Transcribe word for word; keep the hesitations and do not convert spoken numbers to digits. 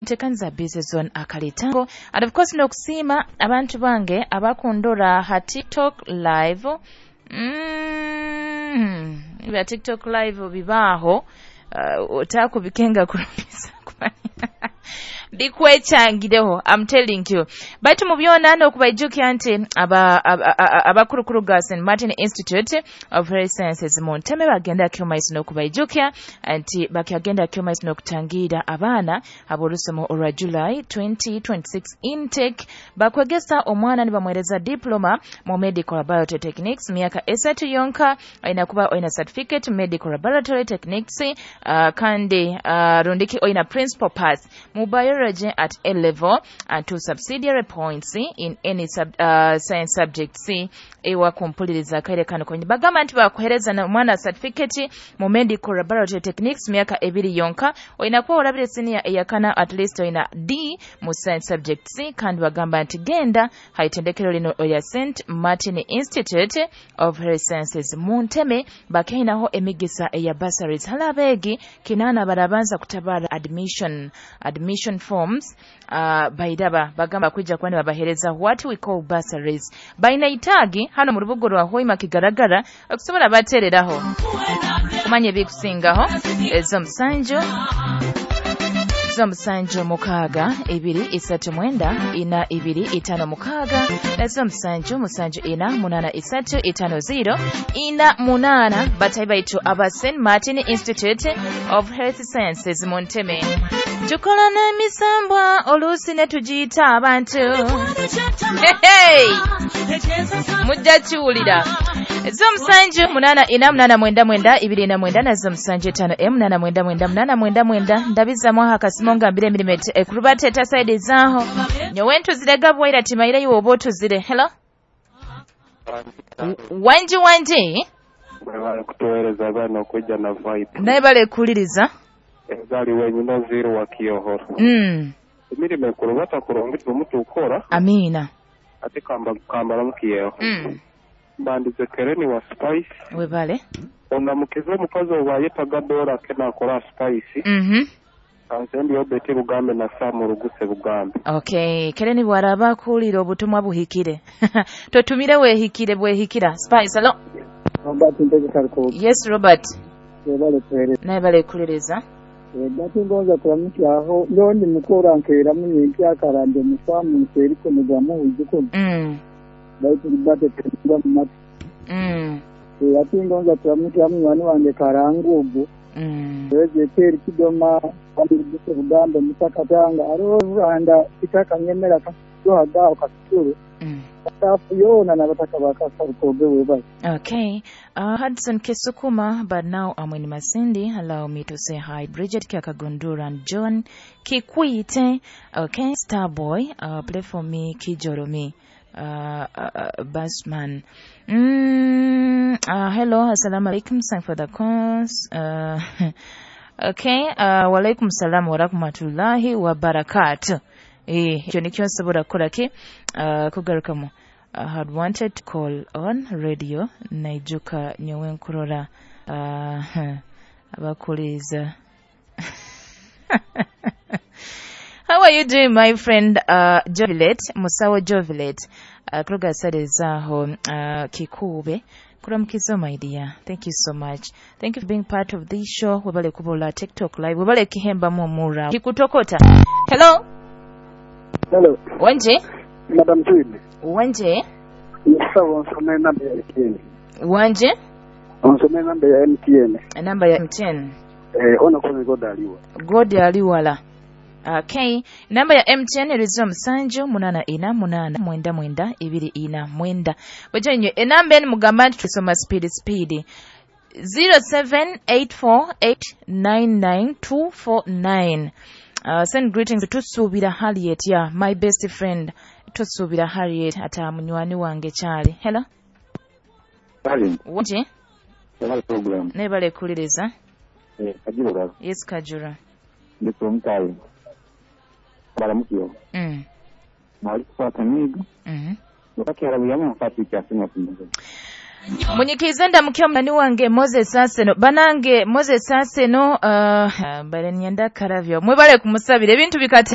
Ntekanza Busy Zone akalitango. And of course n'okusiima abantu bange abakundora ha TikTok Live. Mm, bya TikTok Live bibaaho, uh, otakubikenga kurumisa bikwechangireho, I'm telling you. Baitu mu byona n'okubaijukya nti abakurukuru ga Saint Martin Institute of Health Sciences mu Nteme bagenda kyomaiso n'okubaijukya nti bakyagenda kyomaiso n'okutangira abaana ab'orusomo olwa July twenty twenty-six intake. Bakwegesa omwana nibamwereza diploma mu medical laboratory techniques myaka esatu yonka, aina kuba oina certificate medical laboratory techniques, uh, kandi uh, rundiki oina principal pass mu biology at A level and two subsidiary points in any sub, uh, science subjects. Ewa kumpuliriza kaire kano kwenye bagamba nti bakuhereza na mwana certificate mu medical laboratory techniques myaka ebiri yonka, oina kuba olabire senior eyakana at least oina D mu science subjects. Kandi bagamba nti genda haitendekero lino oya Saint Martin Institute of Health Sciences mu Nteme bakainaho emigisa eya bursaries halabegi kinana barabanza kutabara admission admission forms, uh, bairaba bagamba kwijja kwani babahereza what we call bursaries. Baina itagi hano mu rubugo rwa Hoima kigaragara okusobola batereraho kumanye bikusingaho ezo musanju zo musanju mukaaga ibiri isatu mwenda ina ibiri itano mukaaga nazo musanju musanju ina munana isatu itano zero ina munana. Batayi baitu aba Saint Martin Institute of Health Sciences mu Nteme. Tukola n'emisambwa oluusi ne tugiyita abantu. Hey! Mujja kiwulira. Zo musanju munana ina munana mwenda mwenda ibiri ina mwenda nazo musanju etano e munana mwenda mwenda munana mwenda mwenda. Ndabizamu aha akasimu ngambire emirimo ekurubateeta side zaaho. Nyowe ntuzire gabwaira timaire iwe oba otuzire. Hello? Wanji wanji? Bale kutuweereza abaana okujja na vibe. Naye bale kuliriza. Ezali wenyina zero wa kiyohoro. Mm. Emirimo ekurubata kurungi omutu ukora. Amina. Ate kamba kambala mukiyeho. Mm. Mbandize Kereni wa Spice. Webale. Ondamukize omukazi owayetaga dola ke nakola Spice. Mhm. Kansendi Obeti Bugambe na Samu Ruguse Bugambe. Okay, Kereni bwaraba kuwulira obutumwa buhikire. Totumire wehikire bwehikira. Spice, hello. Robert Ntegeka. Yes, Robert. Webale kuhereza. Naye bale kuliriza. Gati ngonza kuramukyaho ndondi mukora nkeera munye akarande mufamu nseriko mugamu uzuko. Mm. Baitu libate tengwa mu matu. Mm. Ati ngonza kuramukyaho munywani wange Karangugu. Mm. Weze teri kidoma amuguse Bugambe mutakatanga arohanda itaka nyemera kasohaga kasuru. Mm. Okay. Uh, Hudson Kesukuma, but now I'm in Masindi. Allow me to say hi. Bridget Kiakagundura and John Kikwite. Okay. Starboy, uh, play for me, Kijoromi. Uh, uh, uh, Basman. Mm, uh, hello, assalamu alaikum. Thank for the calls. Uh, okay. Uh, walaikum salam wa rahmatullahi wa barakatuh. Eh, ekyo nikyo nsobola kukola ki uh, kugarukamu. I had wanted to call on radio naijuka nyowe nkurora uh, abakuliza. How are you doing, my friend uh, Jovilet Musawo Jovilet uh, kuruga sare zaho uh, Kikube kuramukizo, my dear. Thank you so much. Thank you for being part of this show. Webale kubola TikTok Live, webale kihemba mumura kikutokota. Hello. Hello. Wanje? Madam Jude. Wanje? Yes, onsome namba ya M T N. Wanje? Onsome namba ya M T N. Namba ya M T N. Eh, ona kone God aliwa. God aliwala. Okay. Namba ya M T N erizo musanju munana ina munana mwenda mwenda ibiri ina mwenda. Weje nyo enamba eni mugamba nti tusoma speed speed. zero seven eight four eight nine nine two four nine. Uh, send greetings to Tusubira Harriet, yeah, my best friend Tusubira Harriet ata munywani wange kyali. Hello. Kale. Wanje? Hello program. Nebale kuliriza. Eh, Kajura. Yes, Kajura. Ndiko mtayi. Balamukiyo. Mm. Mali kupata migo. Mhm. Wakati arabuyamu mfati kyasema kumbuka. Munyikize ndamukya munani wange Moses Aseno. Banange Moses Aseno, uh, bale nyenda karavyo. Mwebale kumusabira ebintu bikate.